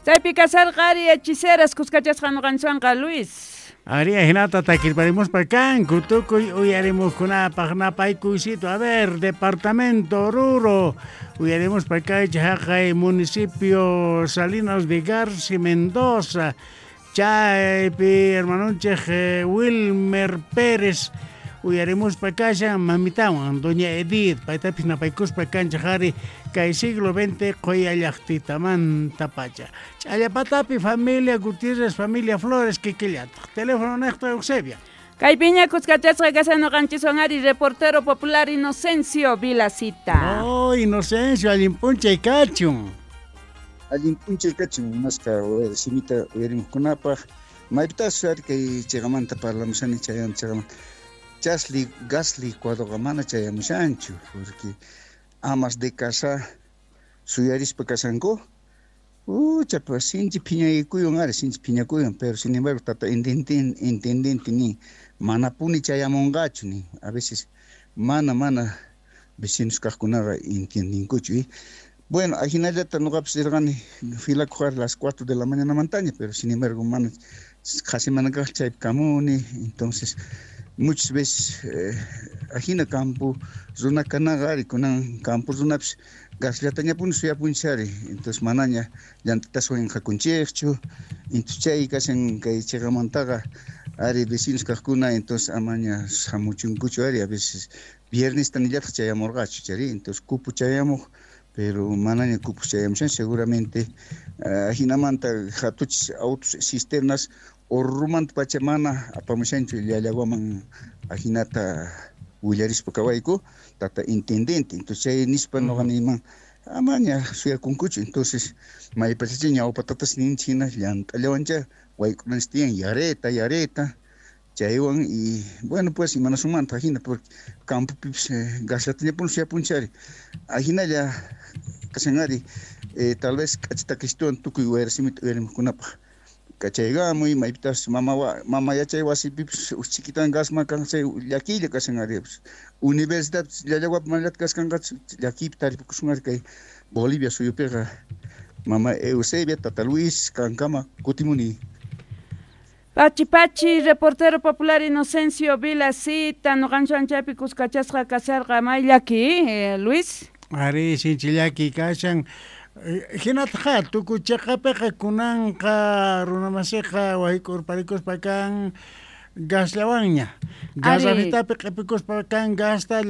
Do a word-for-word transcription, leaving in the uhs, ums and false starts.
Chaypi kasarqa ari hechiceras kuskachasqa ñuqanchikwanqa, Luis. Ari, hinata takirparimuspa kanku tukuy uyarimuqkunapaq napaykuysito. A ver, departamento Oruro, uyarimuspa kaychik haqay municipio Salinas de Garci Mendoza, chaypi hermanunchik eh, Wilmer Pérez uyarimuspa kashan mamitawan doña Edith, paytapis napaykuspa kanchik ari kay siglo veinte qoya llaqtitamanta pacha. Ch'allapatapi familia Gutiérrez, familia Flores, kikillataq. Teléfono neqta, Eusebia. Kaypiña kuskachasqa kashan ñuqanchiswan ari reportero popular Inocencio Vilacita. Oh, Inocencio, allin p'unchay kachun. Allin p'unchay kachun, munasqa simita uyarimuqkunapaq. Maypitas ari kay chiqamanta parlamushani, chayan chiqamanta. Chasli gas licuadoqa mana chayamushanchu, porque amas de casa suyarispa kashanku. Ucha, pues sinchi phiñakuywan ari, sinchi phiñakuywan, pero sin embargo tata intendente, intendente ni manapuni chayamunqachu ni. A veces mana, mana vecinos kaqkunaqa entiendinkuchu. Y bueno, ajinallata ñuqapis rirqani filakuq a las cuatro de la mañana mantaña, pero sin embargo mana qhasi mana kaq chaypi kamuni. Entonces muchas veces eh, ajina campo runa kanaqa ari, kunan campo runapis gasllatañapuni suyapunchis ari. Entonces manaña llant'ataswan inqakunchikchu. Entonces chay kashan kay chiqamantaqa ari vecinos kaqkuna, entonces amaña hamuchunkuchu ari. A veces viernesta nillataq chayamurqachu chari, entonces cupo chayamuq, pero manaña cupo chayamushan seguramente. Ajinamanta hatuchis autos cisternas Orurumanta pacha mana apamushanchu Llallawaman, ajinata willarispa kawayku tata intendente. Entonces chay nispa ñuqa niyman amaña suyakunkuchu. Entonces maypachacha ñawpa tatas ninchik hina llant'allawancha wayk'unanchik tiyan yareta yareta chaywan. Y bueno, pues imanasunmanta ajina, porque campopipis gasllatañapuni suyapunchik ari. Ajinalla kashan ari, eh, tal vez k'achita kishtuwan tukuy wayrasimita uyarimuqkunapaq kachaykamuy. Maypitas mama mama yachay wasipipis chiquitan gasman kan chay llakiylla kashan ari. Universidad Llallawapi manallataq kasqanqachu llakiypi taripukusun ari kay Bolivia suyupiqa. Mama Eusebia, tata Luis, kankama kutimuni. Pachi pachi, reportero popular Inocencio Vilacita, ñuqanchik chaypi kuskachasqa kasharqa. May llaki, eh, Luis. Ari, sinchi llaki kashan. Hinataqa tukuy chiqapiqa kunanqa runamasiqa wayk'urparikuspa kan gasllawanña. Garrafitapi q'ipikuspa kan gasta.